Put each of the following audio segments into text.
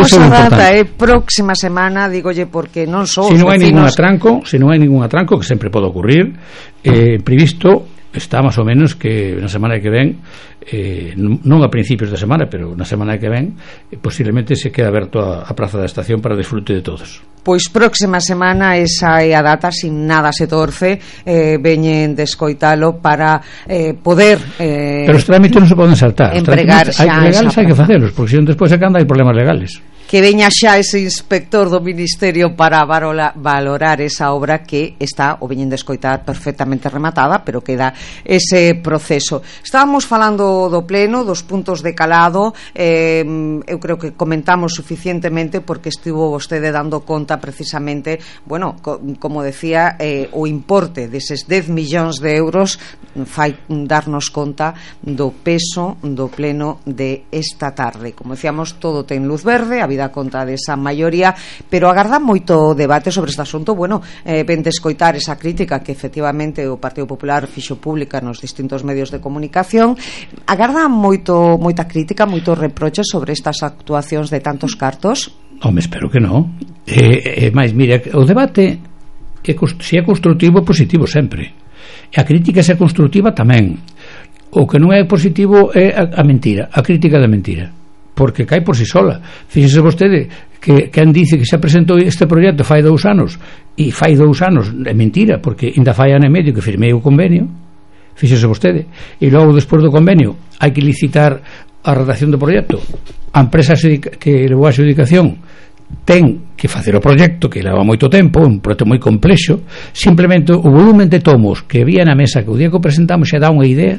famosa data é próxima semana, digolle, porque non só se non hai ningún atranco, que sempre pode ocurrir, previsto está máis ou menos que na semana que ven, non a principios da semana, pero na semana que ven posiblemente se queda aberto a Praza da Estación para desfrute de todos. Pois próxima semana esa é a data, sin nada se torce, veñen de escoitalo para poder pero os trámites non se poden saltar, empregar xa legales hai que facelos, porque senón despois acá hai problemas legales. Que veña xa ese inspector do Ministerio para valorar esa obra que está, o veñen de escoitar, perfectamente rematada, pero queda ese proceso. Estábamos falando do pleno, dos puntos de calado, eu creo que comentamos suficientemente porque estivo vostede dando conta precisamente, bueno, como decía, o importe deses 10 millóns de euros fai darnos conta do peso do pleno de esta tarde. Como decíamos, todo ten luz verde, a vida conta desa maioría, pero agarda moito debate sobre este asunto. Bueno, ven de escoitar esa crítica que efectivamente o Partido Popular fixo pública nos distintos medios de comunicación. Agarda moita crítica, moitos reproches sobre estas actuacións de tantos cartos? Home, espero que non. Mais, mira, o debate se é construtivo, positivo sempre, e a crítica se é construtiva tamén. O que non é positivo é a mentira, a crítica da mentira, porque cae por si sola. Fíxese vostede que quen dice que xa presentou este proxecto fai 2 anos, e fai 2 anos é mentira, porque ainda fai ano e medio que firmei o convenio. Fíxese vostede, e logo despois do convenio hai que licitar a redacción do proxecto. A empresa que levou a adjudicación ten que facer o proxecto, que leva moito tempo, un proxecto moi complexo. Simplemente o volumen de tomos que había na mesa que o día que o presentamos xa dá unha idea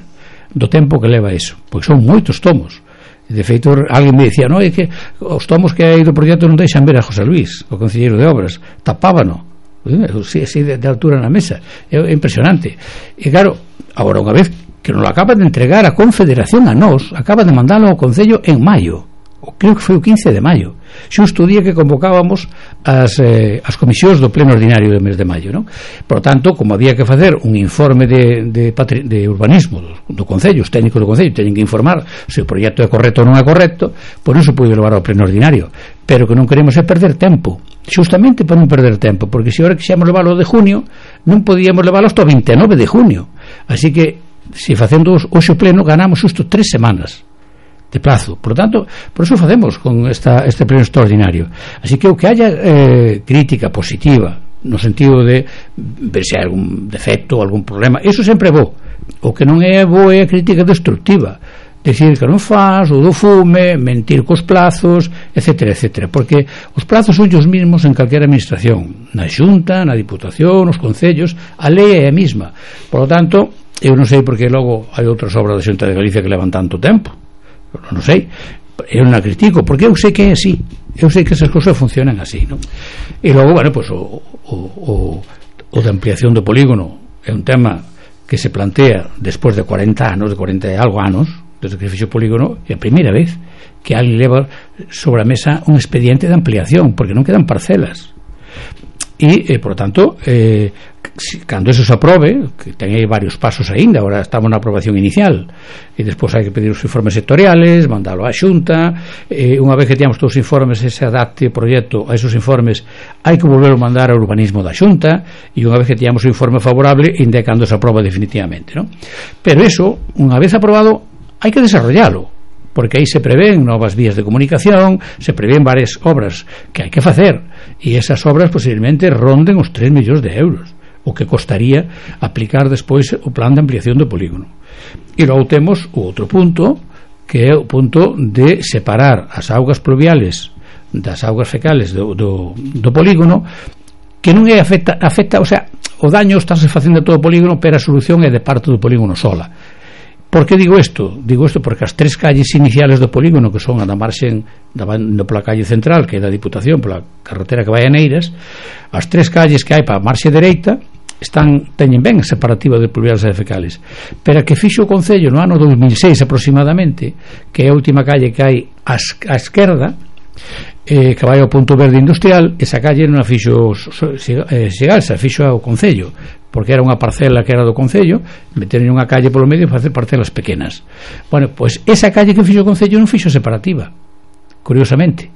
do tempo que leva eso, porque son moitos tomos. De feito, alguén me dicía, non, é que os tomos que hai do proxecto non deixan ver a José Luis, o concelleiro de obras, tapábano así de altura na mesa. É impresionante. E claro, agora unha vez que nos lo acaba de entregar a Confederación a nós, acaba de mandalo ao Concello en maio, creo que foi o 15 de maio, xusto o día que convocábamos as comisións do pleno ordinario do mes de maio, non? Por tanto, como había que facer un informe de urbanismo do Concello, os técnicos do Concello teñen que informar se o proxecto é correcto ou non é correcto, por iso pude levar ao pleno ordinario, pero que non queremos é perder tempo, justamente para non perder tempo, porque se agora quixemos leválo de junio, non podíamos leválo hasta o 29 de junio, así que se facendo hoxe o pleno ganamos xusto 3 semanas de plazo. Por lo tanto, por eso facemos con este pleno extraordinario. Así que o que haya crítica positiva no sentido de ver se hai algún defecto ou algún problema, eso sempre é bo. O que non é bo é a crítica destructiva, decir que non faz, ou do fume, mentir cos plazos, etcétera, etcétera, porque os plazos son os mismos en calquera administración, na Xunta, na Diputación, nos concellos, a lei é a mesma. Por lo tanto, eu non sei porque logo hai outras obras da Xunta de Galicia que levan tanto tempo, non sei, eu non a critico porque eu sei que é así, eu sei que esas cousas funcionan así, non? E logo, bueno, pues o de ampliación do polígono é un tema que se plantea despois de 40 anos, de 40 e algo anos desde que fixe o polígono, é a primeira vez que alguén leva sobre a mesa un expediente de ampliación, porque non quedan parcelas. E, por tanto, cando eso se aprobe, que ten aí varios pasos aínda, agora estamos na aprobación inicial, e despois hai que pedir os informes sectoriales, mandalo á Xunta, unha vez que teñamos todos os informes, se adapte o proxecto a esos informes, hai que volver a mandar ao urbanismo da Xunta, e unha vez que teñamos o informe favorable, indicando se aproba definitivamente, ¿no? Pero eso, unha vez aprobado, hai que desarrollalo, porque aí se prevén novas vías de comunicación, se prevén varias obras que hai que facer, e esas obras posiblemente ronden os 3 millóns de euros, o que costaría aplicar despois o plan de ampliación do polígono. E logo temos o outro punto, que é o punto de separar as augas pluviales das augas fecales do polígono, que non é afecta, o sea, o daño estáse facendo a todo o polígono, pero a solución é de parte do polígono sola. Por que digo isto? Digo isto porque as 3 calles iniciales do polígono, que son a da marxen pola calle central, que é da Diputación, pola carretera que vai a Neiras, as 3 calles que hai para a marxe dereita teñen ben a separativa de pluviales e fecales, pero a que fixo o Concello no ano 2006 aproximadamente, que é a última calle que hai á esquerda, que vai ao punto verde industrial, esa calle non a fixo Sigalsa, fixo ao Concello, porque era unha parcela que era do Concello, meteron unha calle polo medio para facer parcelas pequenas. Bueno, pois esa calle que fixo o Concello non fixo separativa, curiosamente,